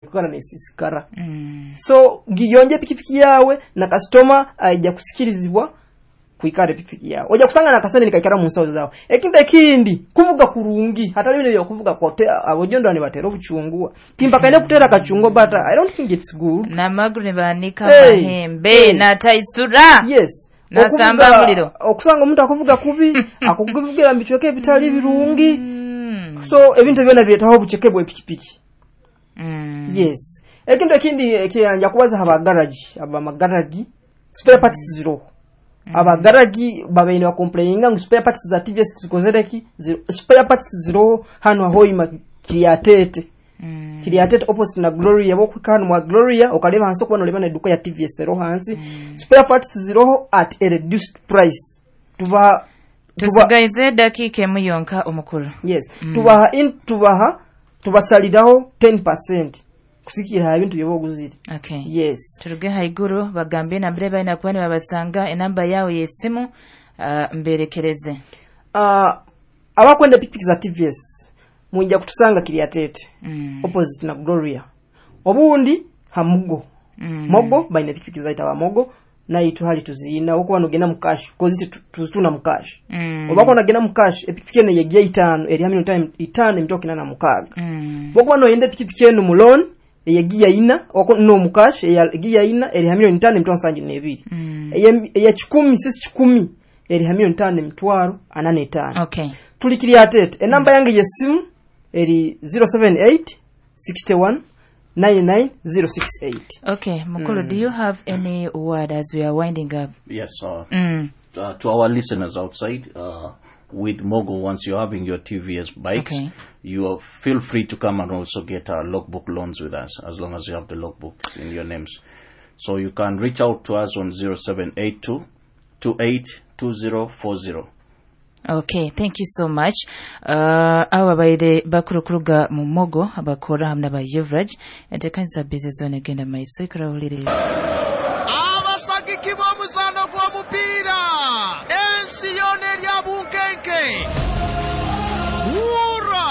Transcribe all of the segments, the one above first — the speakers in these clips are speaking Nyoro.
Kwikara nesisikara. So giyonje epikipiki yawe, na kasitoma aija kusikirizibwa kwikara epikipiki yawe. Ojja kusanga nakasente nikaikara mu nsawo zawe. Ekintu ekindi, kuvuga kurungi, hatali bino byokuvuga kote abojondwa nibatera obuchungwa. Timpakaine kutera kachungwa, but I don't think it's good. N'amaguru nibanika Hey, amahembe hey. n'ataisura. Yes. Nasamba muliro. Okusanga omuntu akuvuga kubi, akukuvugira mu bicweka ebitali birungi. So ebintu byona biretaho obuceke bw'epikipiki. Yes. Ekintu ekindi ekyanja kubaza abagaragi, abamagaragi spare parts ziroho. Abagaragi babaine bakomplaininga ngu spare parts za TVS zikozereki, spare parts ziroho hano ahoima Kiryatete. Kiryatete opposite na Gloria, bokuhika hano mwa Gloria okareba hansi okuba noleba n'eduka ya TVS eroho hansi. Spare parts ziroho at a reduced price. Tuba Tusigaize dakiika emu yonka, omukulu. Yes. Tubaha in tubaha tubasaliraho 10% kusikira ha bintu byoba oguzire. Okay. Yes. Turuge haiguru, bagambe nambere balina kuba nibabasanga, enamba yawe y'esimu, mberekereze. Abakwenda pikipiki za TVS mwijja kutusanga Kiryatete, opposite na Gloria, obundi hamugo. Mogo baine pikipiki zaita ba Mogo naitu hali tuziina okuba nogenda mu cash kozi tuzitunda mu cash. Obako nagenda mu cash, epikipiki eno yegiya 5 eri hamwe time 5 emitoka 86. Bokuba noyenda epikipiki eno mu loan eyegiya 4 oko no mu cash eyegiya 4 eri hamwe 5 emitoka 72. Eya 10 sisi 10 eri hamwe 5 emitwaro 85. Okay. Tuli Kiryatete. Enamba yange yesimu eri 078 61 99068. Okay, Mukulu, do you have any word as we are winding up? Yes, to our listeners outside, with Mogo, once you're having your TVS bikes, you are, feel free to come and also get our logbook loans with us, as long as you have the logbooks in your names. So you can reach out to us on 0782 282040. Okay, thank you so much. Abo babaire bakuru kuruga mu Mogo abakora hamwe n'aba Yuvraj, entekanisa bizi zona egenda maiso, ikarahuliriza. Abasagiki b'omuzaano gw'omupiira ensi yona erya bunkenke, wura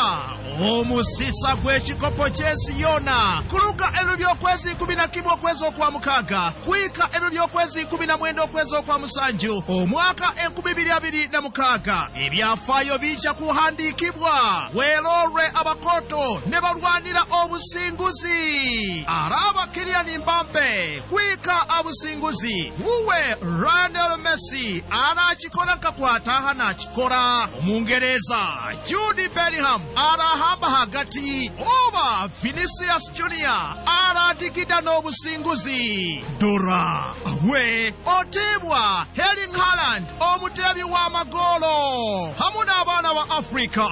omusisa gw'ekikopo ky'ensi yona kuluga ebiro by'okwezi 11 okwezi okwa 6 kwika ebiro by'okwezi 19 okwezi okwa 7 omwaka 2026. Ebyafaayo bijja kuhandiikibwa weerolwe abakoto ne balwanira obusinguzi araba Kylian Mbappe kwika abusinguzi wuwe Lionel Messi arakikora nkakwataha nakikora Omungereza Jude Bellingham arahamba hagati oba Vinicius Junior aradigida n'obusinguzi dora we otibwa Erling Haaland omutebi w'amagolo hamu n'abaana ba Afrika.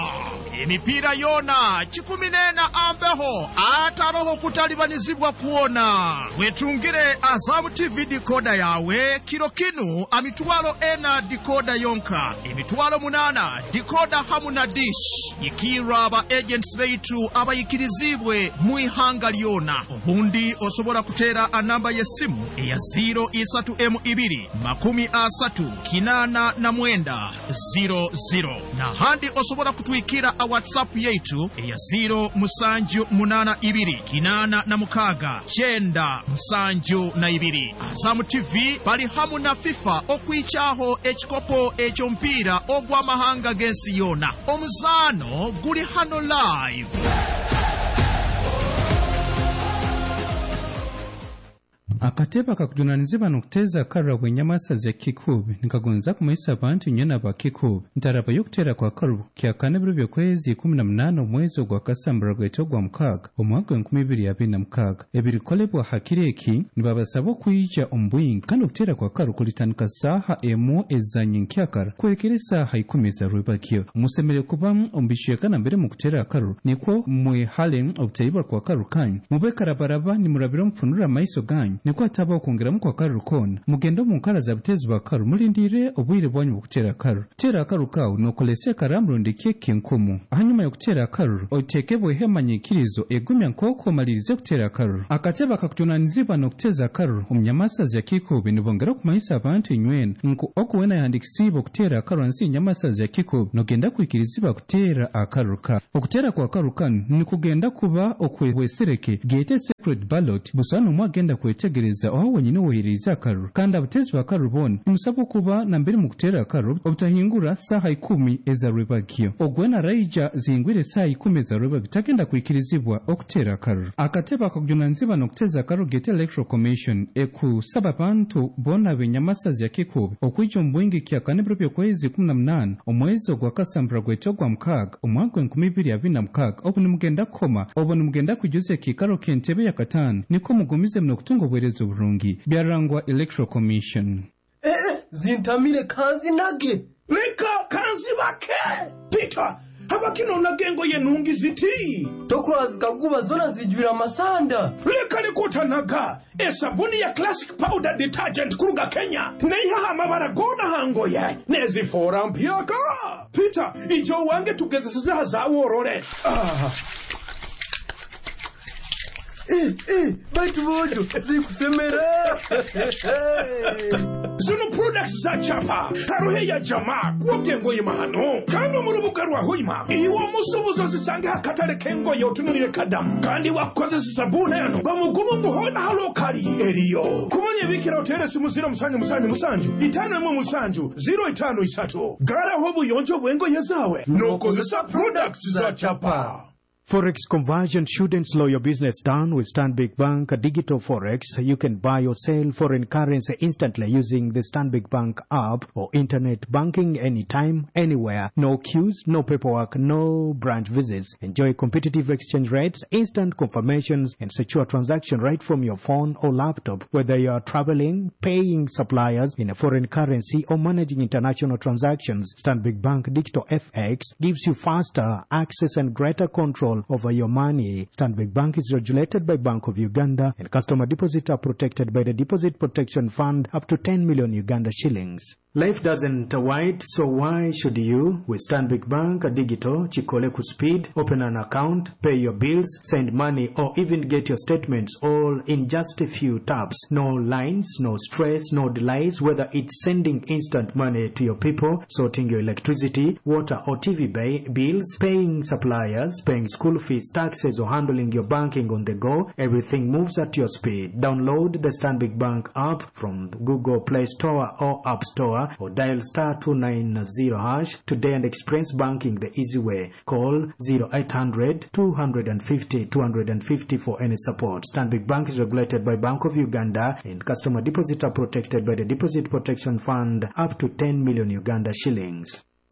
Emipiira yona 14 ambeho ataroho kutalibanizibwa kuona. Wetungire Azamu TV dikoda yawe kiro kinu amitwalo 4 dikoda yonka, emitwalo 8 dikoda hamu na dish. Ikira aba agents beitu abayikirizibwe mu ihanga lyona. Obundi osobola kuteera anamba y'essimu eya 0 isatu emu ibiri makumi asatu kinana na mwenda 00, nahandi osobola kutwikira a WhatsApp yaitu eya 0 musanju munana ibiri kinana na mukaga cyenda musanju na ibiri. Azamu TV bali hamu na FIFA okwicaho ekikopo eky'omupiira ogw'amahanga g'ensi yona. Omuzaano guli hano live. Akatebe akakujunanizibwa n'okuteeza akarura bw'enyamasa za Kikuubi nikagonza kumanyisa abantu nyena ba Kikuubi ntaraba y'okuteera kwa karubu kyakana ebiro by'okwezi 18 omwezi ogwa Kasambara gwete ogwa 6 omwaka 2026. Ebirikolebwa hakiri eki nibabasaba okwija omu bwingi, kandi okuteera kwa karu kulitandika saaha 1 eza nyenkyakara kuhikira esaaha 10 za rwebagyo. Musemere kuba omu bicweka nambere mukuteera akaruru nikwo mwehale obutaibwa kwa karu kanyu, mube karabaraba nimurabira omufunura amaiso ganyu. Nikwo hatabaho kwongeramu kwa karuru koona. Mugende omu nkara za butezi bwa karuru mulindire obwire bwanyu bw'okuteera akaruru. Teera akaruru kaawe nookozesa ekaramu rundi keeki enkumu. Hanyuma y'okuteera akaruru, oteekebweho emanyikirizo egumya nk'oku omalirize kuteera akaruru. Akatebe akakujunanizibwa n'okuteeza akaruru omu Nyamasazi ya Kikuube nibongera okumanyisa abantu inywena ngu ogu weena yahandikisiibwe okuteera akaruru hansi y'Nyamasazi ya Kikuube nogenda kwikirizibwa kuteera akaruru kawe. Okuteera kwa karuru kanu nikugenda kuba okw'obwesereke geete secret ballot, busaho n'omu agenda kwetegereza oha wenyini owohererize akaruru. Kandi abateezi b'akaruru boona nimusabwa okuba nambere mukuteera akaruru obutahingura saaha 10 eza rwebagyo. Ogu weena araija zihingwire esaaha 10 eza rwebagyo tagenda kwikirizibwa okuteera akaruru. Akatebe akakujunanizibwa n'okuteeza akaruru geete Electoral Commission ekusaba abantu boona ab'Enyamasazi ya Kikuube okwija omu bwingi kyakana ebiro by'okwezi 18 omwezi ogwa Kasambura gwete ogwa mukaaga omwaka gw'enkumi ibiri abiri na mukaaga, obu nimugenda kukoma, obu nimugenda kwijuza ekiikaro ky'entebe ya kataano, nikwo mugumizemu n'okutunga obuheereza oburungi. Byarangwa Electoral Commission. Eh, zintamire, kanzinage. Leka kanzibake. Peter, habaki nonaga engoye nungi ziti? Tokurora zikaguba zona zijwire amasanda. Leka likutanaga esabuni ya Classic Powder Detergent kuruga Kenya neihaho amabara gona hangoye nezifora mpyaka. Peter, ijo wange tugezesizeha zawe orole. Eh, eh, baitu bojo zikusemera. Zino products za chapa haruhe ya jamaa kwogya engoye mahano, kandi omu rubuga rwa Hoima iwe omusubuzi ozisange hakatale k'engoye otunulire kadamu, kandi wakukozesa sabuni eno bamugumu ngu hona halokali eriyo. Kumanya ebikira otere simu 077 517 053. Garaho obuyonjo bw'engoye zawe n'okozesa products za chapa. Forex conversion shouldn't slow your business down. With Stanbic Bank Digital Forex, you can buy or sell foreign currency instantly using the Stanbic Bank app or internet banking anytime, anywhere. No queues, no paperwork, no branch visits. Enjoy competitive exchange rates, instant confirmations, and secure transaction right from your phone or laptop. Whether you are traveling, paying suppliers in a foreign currency, or managing international transactions, Stanbic Bank Digital FX gives you faster access and greater control over your money. Stanbic Bank is regulated by Bank of Uganda, and customer deposits are protected by the Deposit Protection Fund up to 10 million Uganda shillings. Life doesn't wait, so why should you? With Stanbic Bank Digital, Chikole Speed, open an account, pay your bills, send money, or even get your statements all in just a few taps. No lines, no stress, no delays, whether it's sending instant money to your people, sorting your electricity, water or TV bills, paying suppliers, paying school fees, taxes, or handling your banking on the go, everything moves at your speed. Download the Stanbic Bank app from Google Play Store or App Store, or dial star 290# today and experience banking the easy way. Call 0800 250 250 for any support. Stanbic Bank is regulated by Bank of Uganda, and customer deposits are protected by the Deposit Protection Fund up to 10 million Uganda shillings.